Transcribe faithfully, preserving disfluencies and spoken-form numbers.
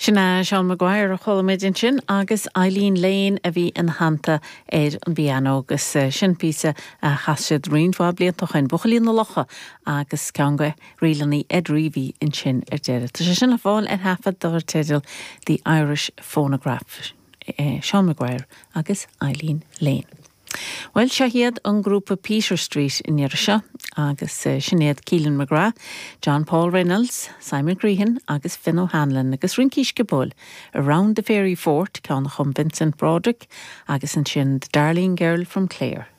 Sin é Seán Maguire a chuala muid ansin agus Eileen Lane a bhí ina theannta ar an bpianó agus sin píosa a chas siad roinnt mhaith blianta ó shin Buachaillí na Locha agus ceann de ríleanna Ed Reavy ansin ar deireadh. Tá sé sin le fáil ar thaifead dar teideal The Irish Phonograph. Eh, Seán Maguire agus Eileen Lane. Well seo iad an grúpa Peter Street in seo agus uh, sin iad Keelan McGrath, John Paul Reynolds, Simon Grehan agus Finn O'Hanlon agus rince sciobóil Around the Fairy Fort ceann chum Vincent Broderick agus ansin The Darling Girl from Clare.